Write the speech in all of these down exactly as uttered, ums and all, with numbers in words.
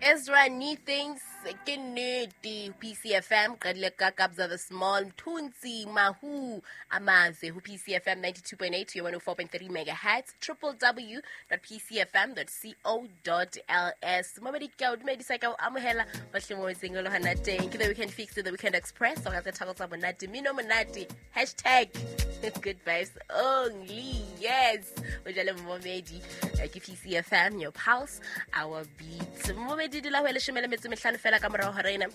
Ezra Neethings ke nnete P C F M qadile ka Kabza the Small, Mthunzi Mahu Amaze ho P C F M ninety-two point eight to one oh four point three megahertz, w w w dot p c f m dot co dot l s. Momedi, ke o dumedisa, ke o amohela bohle mo etseng le hona teng. Ke The Weekend Fix, The Weekend Express, o tse tharo tsa monate, mino monate, hashtag good vibes only. Yes, o jale momedi, ke P C F M, your pulse, our beat. Momedi, dula ho leshome le metso mehlano fela ka morao hora ena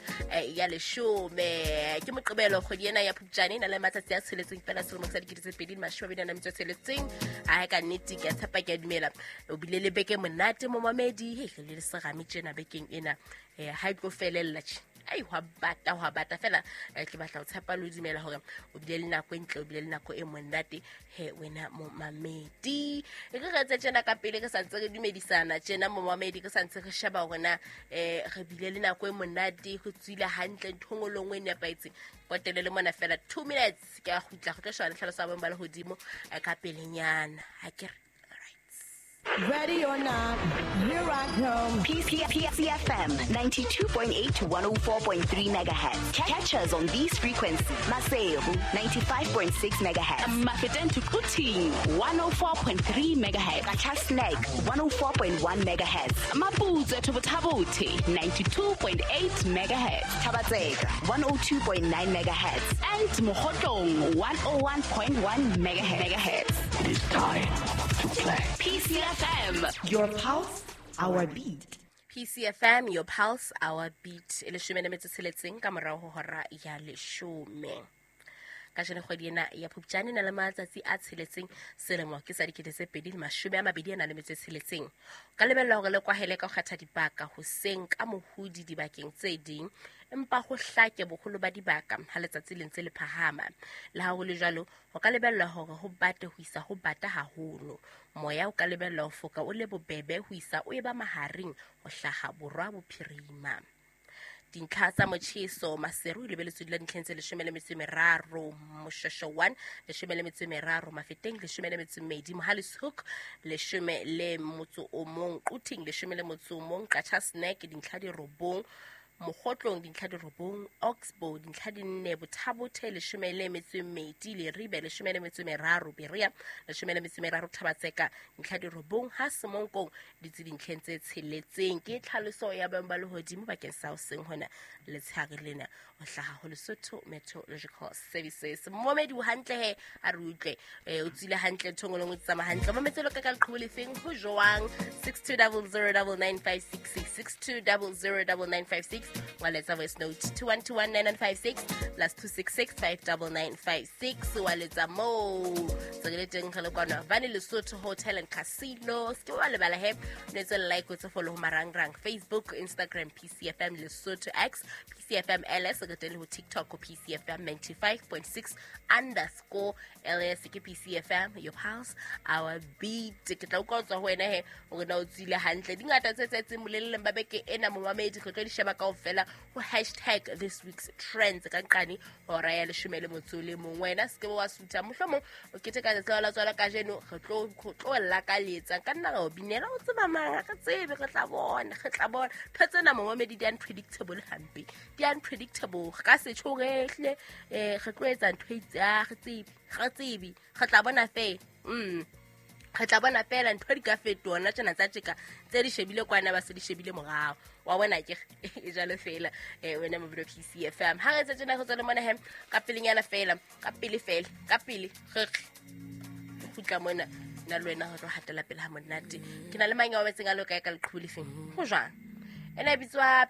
ya leshome. Ke Moqebelo, kgwedi ena ya Phupjane e na le matsatsi a tsheletseng fela, selemo sa dikete tse pedi mashome a mabedi a na metso e tsheletseng. A ka nnete ke a tshepa, ke a dumela o bile le beke monate, momamedi. He re le serame tjena bekeng ena, um ha e tlo felella tje. Ai, hwa bata, hwa bata fela. Ke batla ho tshepa le ho dumela hore o bile le nako e ntle, o bile le nako e monate he wena momamedi. E re re etse tjena ka pele, re santse re dumedisana tjena, momamedi, re santse re sheba hore na um re bile le nako e monate, go tswile hantle, ntho engwe le nngwe e nepahetseng. Potele le mona fela two minutes, ke a kgutla go tlo sheba le tlhaloso ya boemo ba lehodimo ka pelenyana. Ha ke re Ready or not, here I come. P C F M ninety-two point eight to one oh four point three megahertz. Catch us on these frequencies. Maseru ninety-five point six megahertz. Mafeteng to Quthing one oh four point three megahertz. Qacha's Nek one oh four point one megahertz. Maputswe to Botha-Bothe ninety-two point eight megahertz. Thaba-Tseka one oh two point nine megahertz. And Mokhotlong one oh one point one megahertz. It is time to play. P C F M. Your pulse, our beat. P C F M, your pulse, our beat. E leshome le metso tsheletseng ka morao ho hora ya leshome. Kajeno kgwedi ena ya Phupjane e na le matsatsi a tsheletseng, selemo ke sa dikete tse pedi le mashome a mabedi a na le metso e tsheletseng. O ka lebella hore le kwahele ka ho kgetha dibaka hoseng ka mohodi dibakeng tse ding, empa ho hlake boholo ba dibaka ha letsatsi le ntse le phahama. Le ha ho le jwalo, ho ka lebellwa hore ho bate ho isa ho bata haholo. Moya o ka lebellwa ho foka o le bobebe ho isa o eba mahareng ho hlaha borwa bophirima. Dintlha tsa motjheso: Maseru e lebeletswe dula dintlheng tse leshome le metso e meraro, Moshweshwe one leshome le metso e meraro, Mafeteng leshome le metso e mmedi, Mohale's Hoek leshome le motso o mong, Quthing leshome le motso o mong, Qacha's Nek dintlha di robong, Mokhotlong dintlha di robong, Oxbow dintlha di nne, Botha-Bothe leshome le metso e mmedi, Leribe leshome le metso e meraro, Berea leshome le metso e meraro, Thaba-Tseka dintlha di robong, ha Semonkong ditse dintlheng tse tsheletseng. Ke tlhaloso ya boemo ba lehodimo bakeng sa hoseng hona letshehare lena ho hlaha ho Lesotho Meteorological Services. Momedi, o hantle he? A re utlwe, o tswile hantle, ntho e nngwe le nngwe e tsamaya hantle? Mametse lo ka ka leqhubu lefeng, ho jwang? six two zero zero nine nine five six six, six two zero zero nine nine five six. Wa letsa voice note two one two one nine nine five six, plus two six six five nine nine five six. Wa letsa moo tse re le teng, re le kwana Vane Lesotho Hotel and Casino. Se ke wa lebala he, o etse like, o etse follow ho marangrang: Facebook, Instagram, P C F M Lesotho, X, P C F M L S. Re teng le ho TikTok ho P C F M ninety-five point six underscore L S. Ke P C F M, your pulse, our beat. Ke tla utlwa ho tswa ho wena he hore na o tswile hantle. Di ngata tse tsetseng boleleng ba beke ena, momamedi, re tlo di sheba kaofela ho hashtag this week's trends ka nqane hora ya leshome le motso le mong. Wena se ke wa sutha, mohlomong o keteka letsatsi la tswala kajeno, re tlo tlo lakaletsa ka nna ra o binela. O tseba mang? Ha re tsebe, re tla bona, re tla bona. Ntho tsena, momamedi, di unpredictable hampe, di unpredictable. Re ka se tjho re hle um re tlo etsa ntho e itse, ha re tsebe, re tsebe, re tla bona fela. mm re tla bona fela, ntho di ka fetoha nna tjena tsa tjeka tse di shebile kwana, ba se di shebile morao wa bona. Ke e jalo fela um wena mobilo P C F M. Ha re etse tjena, re tswa le mona he ka pelenyana fela, ka pele fela, ka pele re re kgutla mona nna le wena re tlo hatela pele ha monate. Ke na le mang ya wetseng a lo kae ka leqhubu lefeng, ho jwang? Ena e bitswa